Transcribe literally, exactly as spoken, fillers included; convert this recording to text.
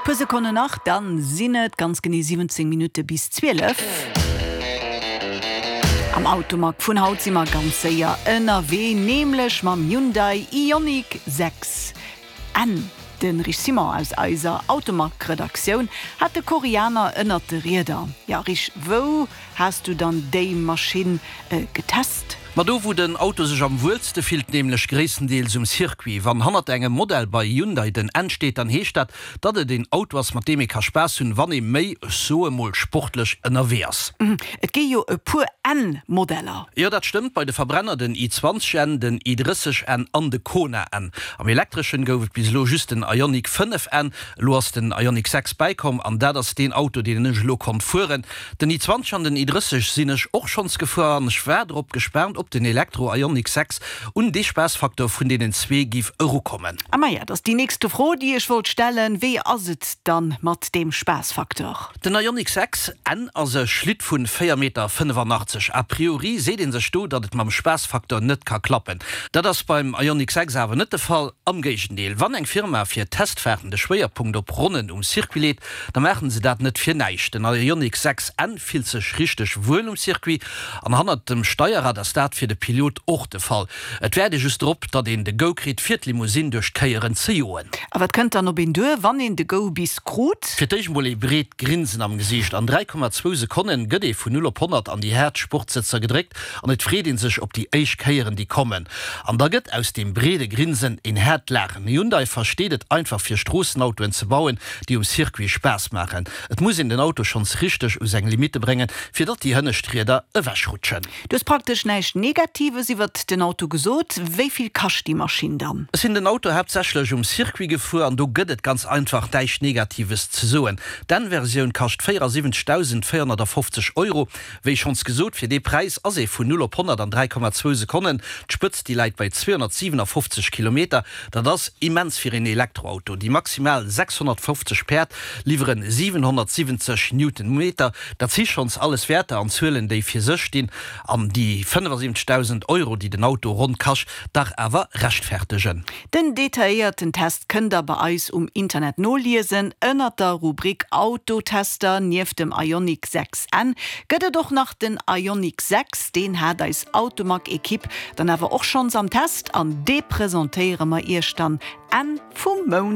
Puer Sekonnen nach, dann sinn et ganz genee siwwenzéng Minutte bis zwielef. Am Automag vun haut si mer ganz séier ënnerwee, nämlech mam Hyundai Ioniq sechs N. De Rich Simon aus eiser Automag-Redaktioun hat de Koreaner ënnert de Rieder. Ja Rich, wou has du dann déi Maschinn getest? Ma do wou den Auto sech am wuelste fillt, nämlech gréisstendeels um Circuit. Wann hannert engem Modell bei Hyundai den N steet, dann heescht dat, datt et een Auto ass, mat deem ee ka Spaass hunn, wann ee méi, ech soe mol, sportlech ënnerwee ass. Et gi jo e puer N-Modeller. Jo, dat stëmmt, bei de Verbrenner den i zwanzeg N, den i drësseg N an de Kona N. Am Elektreschen gouf et bis elo just den Ioniq fënnef N, elo ass den Ioniq sechs bäikomm an dat ass deen Auto, deen ech elo konnt fueren. Den i zwanzeg an den i drësseg sinn ech och schonns gefuer an ech war drop gespaant, ob den Elektro Ioniq sechs un dee Spaassfaktor vun deenen zwee giff erukommen. Ah maja, dat ass déi nächste Fro, déi ech wollt stellen, Wéi ass et dann mat deem Spaassfaktor? Den Ioniq sechs N ass e Schlitt vun véier Meter fënnefannachtzeg. A priori seet ee sech do, datt et mam Spaassfaktor net ka klappen. Dat ass beim Ioniq sechs awer net de Fall. Am Géigendeel, wann eng Firma fir Testfaarten de Schwéierpunkt op Ronnen um Circuit leet, da maachen se dat net fir näischt. Den Ioniq sechs N fillt sech richteg wuel um Circuit an hannert dem Steierrad ass dat fir de Pilot och de Fall. Et wäert ee just drop, datt een de Go kritt, fir d'Limousine duerch d'Kéieren ze joen. A wat kënnt dann op een duer, wann een de Go bis krut? Fir d'éischt emol ee breet Grinsen am Gesiicht. An dräi Komma zwou Sekonne gëtt ee vun null op honnert an déi haart Sportsëtzer gedréckt an et freet ee sech op déi éischt Kéieren, déi kommen. An da gëtt aus deem breede Grinsen een haart Laachen. Hyundai versteet et einfach, fir Stroossenautoen ze bauen, déi um Circuit Spaass maachen. Et muss een den Auto schonns richteg u seng Limitte bréngen, fir datt déi hënnescht Rieder ewechrutschen. Du hues praktesch näischt Negatives iwwert den Auto gesot. Wéi vill kascht déi Maschinn dann? Ech sinn den Auto haaptsächlech um Circuit gefuer an do gëtt et ganz einfach näischt Negatives ze soen. D'N-Versioun kascht véierasiwwenzegdausendvéierhonnertafofzeg Euro. Wéi schonns gesot, fir dee Präis ass ee vun null op honnert an dräi Komma zwou Sekonnen. D'Spëtzt, déi läit bei zweehonnertsiwenafoffzeg Kilometer. Dat ass immens fir een Elektroauto. Déi maximal sechshonnertfofzeg Päerd liwweren siwenhonnertsiwwenzeg Newtonmeter. Dat si schonns alles Wäerter an Zuelen, déi fir sech stinn an déi fënnefasiwwenzegdausend Euro, déi den Auto ronn kascht, dach awer rechtfertegen. Den detailléierten Test kënnt der bei eis um Internet noliesen ënnert der Rubrik Autotester. Nieft dem Ioniq sechs N gëtt et och nach den Ioniq sechs, deen hat eis Automag-Ekipp dann awer och schonns am Test an dee presentéiere mer iech dann Enn vum Mount.